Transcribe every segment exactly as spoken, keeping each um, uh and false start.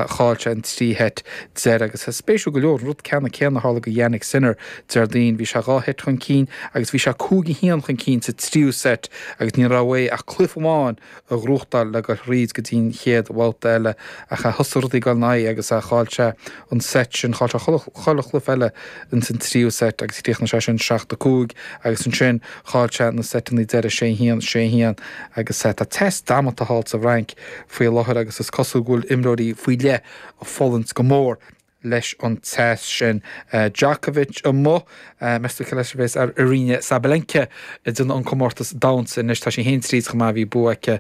Chaill sé an trí sheit deiridh agus spéisiúil go leor an rud ceanna céanna a tharla do Jannik Sinner Déardaoin. Bhí sé dhá sheit chun cinn agus bhí sé cúig a haon chun cinn sa tríú seit agus ní raibh uaidh ach cluiche amháin a ghnóthachtáil le dul thríd go dtí an chéad bhabhta eile ach thosaigh rudaí ag dul ina aghaidh agus chaill sé an seit sin, chaill sé chuile chluiche eile ins an tríú seit agus chríochnaigh sé sin seacht a cúig agus ansin chaill sé na seiteanna deiridh sé a haon, sé a haon agus tá teas damanta thall sa bhFrainc faoi láthair agus is cosúil go bhfuil imreoirí faoi leith ag fulaingt go mór leis an teas sin. Djokovic amuigh, meas tú cé leis a bheas ar Aryna Sabalenka ag déanamh an comórtas domhanda anois. Tá sí féin tríd chomh maith, bhí bua aici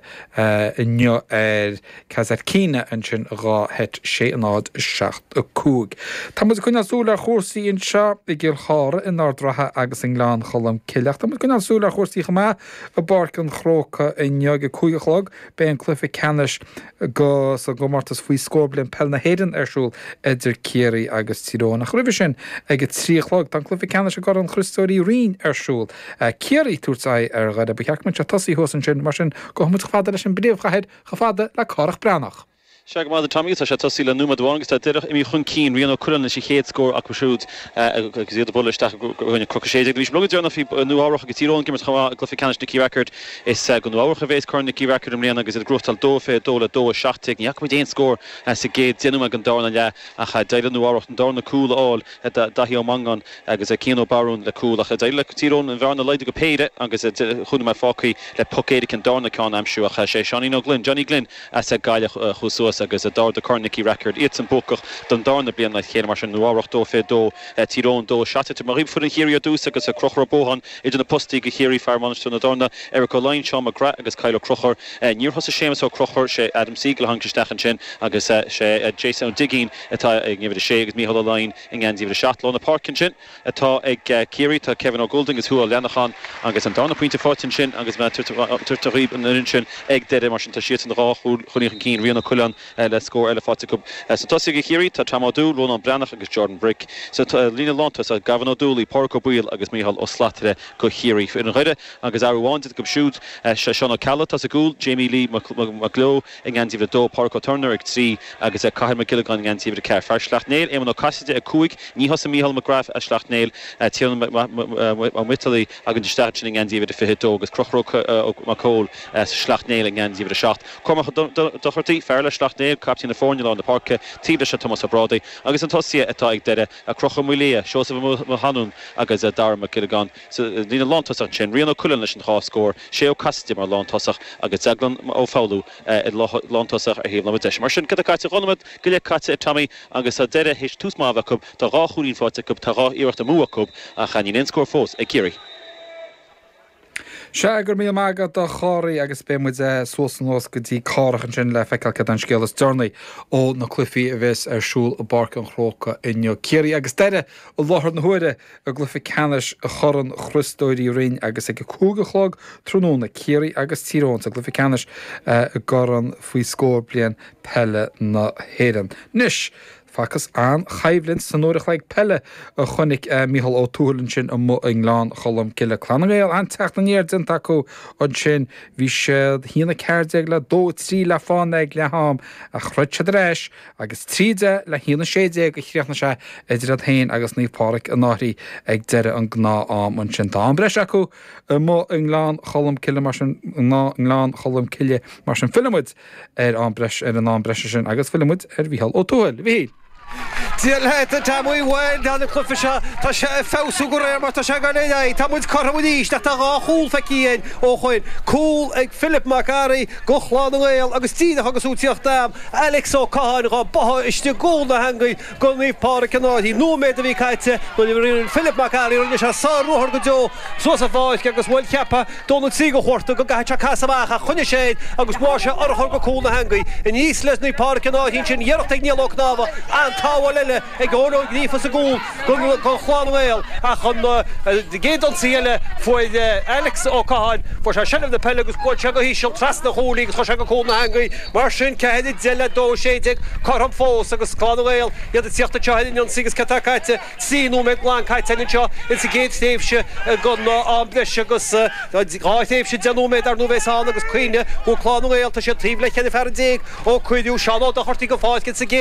inniu ar Kasatkina ansin dhá sheit sé a náid seacht a cúig. Tá muid ag coinneáil súil ar chúrsaí anseo i gCill Chartha, in Ard Ratha agus i nGleann Cholm Cille ach tá muid ag coinneáil súil ar chúrsaí chomh maith i bPáirc an Chrócaigh inniu ag a cúig a chlog. Beidh an cluiche ceannais go sa gcomórtas faoi scór bliain peil na hÉireann ar siúl idir Ciarraí agus Tír Eoghain. Ach roimhe sin, ag a trí a chlog, tá an cluiche ceannais i gCorn Chriostóir Uí Rinn ar siúl. Ciarraí ag tabhairt aghaidh ar Dhoire. Ba cheart go mbeadh sé tosaithe thuas ansin, mar sin gabhfaidh muid chomh fada leis an bpríomhchathair, chomh fada le Cárthach Breathnach. Sea go maith, a Tommy, tá sé tosaithe le nóiméad amháin agus tá Doire imithe chun cinn. Rian Ó Cuirreáin leis an chéad scór acu siúd agus iad ag bualadh isteach i gcoinne Cnoc a sé déag. Bhí rud deireanach faoi Nua Eabhrach agus Tír Eoghain ag imirt chomh maith i gcluiche ceannais Nicky Rackard. Is go Nua Eabhrach a bhéas Corn Nicky Rackard i mbliana agus iad ag gnóthachtáil dó fiche dó le dó a seacht déag. Ní fhaca muid aon scór sa gcéad deich nóiméad den darna leath ach d'éirigh le Nua Eabhrach an darna cúl a fháil, Daithí Ó Mongáin agus Cian Ó Barún le cúl ach d'éirigh le Tír Eoghain an bhearna a laghdú go péire agus chúig nóiméad fágtha le poc éirice an darna ceann a aimsiú ach sé Seáinín Ó Gloinn, Johnny Glynn, as Gaillimh a chuaigh suas agus a d'ardaigh Corn Nicky Rackard, iadsan buacach don darna bliain le chéile mar sin, Nua Eabhrach dó fiche dó, Tír Eoghain dó seacht déag. Mar foireann Chiarraí ar dtús agus Conchúr Ó Buacháin idir na postaí do Chiarraí, fear bainisteoir na dtorna, Eric Ó Laighin, Seán McGrath agus Kyle Ó Conchúir. Níor thosaigh Séamus Ó Conchúir, sé Adam Siegel a tháinig isteach ansin agus sé Jason Ó Duigín atá ag uimhir a sé agus Mícheál Ó Laighin i ngeansaí uimhir a seacht. Lár na páirce ansin atá ag Ciarraí, tá Kevin Ó Goulding agus Hugh Ó Leanacháin agus an darna pointe faighte ansin agus mé ag tabhairt dhaoibh an fhoireann sin ag deireadh mar sin tá siadsan dhá chúilín chun cinn, Rian Ó Coileáin le scór eile faighte acu. Sna tosaithe do Chiarraí tá Tom Ó Dúill, Rónán Breathnach agus Jordan Brick. Sa líne lántosach Gavin Ó Dúlaí, Pádraig Ó Baoill agus Mícheál Ó Slatara do Chiarraí. Foireann Dhoire agus athrú amháin déanta acu siúd, sé Seán Ó Ceallaigh atá sa gcúl, Jamie Lee Mac Leo i ngeansaí uimhir a dó, Pádraig Ó Turner ag trí agus Cathal Mac Giollagáin i ngeansaí uimhir a ceathair. Fear Shleacht Néill, Éamonn Ó Casaide ag cúig. Ní thosaigh Mícheál McGrath as Sleacht Néill, Tiernan Ó Miotailí againn isteach ansin i ngeansaí uimhir a fiche dó agus Conchúr Ó Mac Cóil as Sleacht Néill i ngeansaí uimhir a seacht. Cormac Ó Dochartaigh, fear le Sleacht Néill, caiptín na foirne i lár na páirce, taobh leis Tomás Ó Brádaigh agus na tosaithe atá ag Doire, Conchúr Maolaodha, Seosamh Ó hAnúin agus Dara Mac Giollagáin. Sa líne lántosach ansin, Rian Ó Coileáin leis an dhá scór, Shay Ó Casaide mar lántosach agus Deaglán Ó Foghlú i lántosach ar thaobh na láimhe deise. Mar sin, cad atá caite? Dhá nóiméad go leith caite ag Tommy agus tá Doire théis tús maith a bheith acu, tá dhá chúilín faighte acu, tá dhá iarracht amú acu ach níl aon scór fós ag Ciarraí. Sea, go raibh míle maith agat a Chárthaigh agus beidh muid suas anuas go dtí Cárthach ansin le feiceáil céard é an scéal is deireanaí ó na cluichí a bheas ar siúl i bPáirc an Chrócaigh inniu. Ciarraí agus Doire i láthair na huaire i gcluiche ceannais Chorn Chriostóir Uí Rinn agus ag a cúig a chlog tráthnóna Ciarraí agus Tír Eoghain sa gcluiche ceannais i gCorn faoi scór bliain peile na hÉireann. Anois, facthas an-choimhlint san uair a chloig peile a chonaic Mícheál Ó Tuathail ansin amuigh i nGleann Cholm Cille. Clann na nGael, an-teacht aniar déanta acu ansin. Bhí siad a haon a ceathair déag le dó a trí le fána ag leath-am ach throid siad ar ais agus trí deich le haon a sé déag a chríochnaigh sé idir iad féin agus Naomh Pádraig an Fhairche ag deireadh an gnáth-am ansin. Tá am breise acu amuigh i nGleann Cholm Cille mar sin nGleann Cholm Cille mar sin fillfidh muid ar am breis ar an am breise sin agus fillfidh muid ar Mhícheál Ó Tuathail. A Mhíchíl. Dia leat, a Tommy, bhuel, tá an cluiche seo, tá sé ag feabhsú de réir mar tá sé ag dul ar aghaidh. Tá muid cothrom arís ach tá dhá chúl feicthe againn ó shoin. Cúl ag Philip Mac Fhearraigh go Chlann na nGael agus díreach agus tú ag tíocht am, Alex Ó Catháin dhá báthadh istigh i gcúl na heangaí go Naomh Pádraig an Fhairche. Nóiméad a bhí caite nuair a rinne Philip Mac Fhearraigh, rinne sé sár-ruathar go deo suas an pháirc agus bhuel cheapfá dó nó trí go chuarta go gcaithfeadh sé casadh amach ach choinnigh sé air agus bháigh sé urchar go cúl na heangaí. Aníos le Naomh Pádraig an Fhairche ansin, iarracht ag Niall Ó Cnámha, an tsábháil eile. eile ag Eoin Ó Gríofa sa gcúl do Chlann na nGael ach an gcéad ionsaí eile fuair Alex Ó Catháin, fuair sé seilbh na peile agus bhuail sé go híseal trasna an chúil í agus chuir sé go cúl na heangaí. Mar sin, ceathair a deich le dó a sé déag, cothrom fós agus Clann na nGael iad ag tíocht anseo ar an ionsaí agus céard atá caite? Trí nóiméad glan caite againn anseo insa gcéad thréimhse den am breise agus dhá thréimhse deich nóiméad ar ndóigh a bheas ann agus cuimhnigh go bhfuil Clann na nGael, tá siad taobh le ceithre fear déag ó cuireadh Seán Ó Dochartaigh den pháirc insa gcéad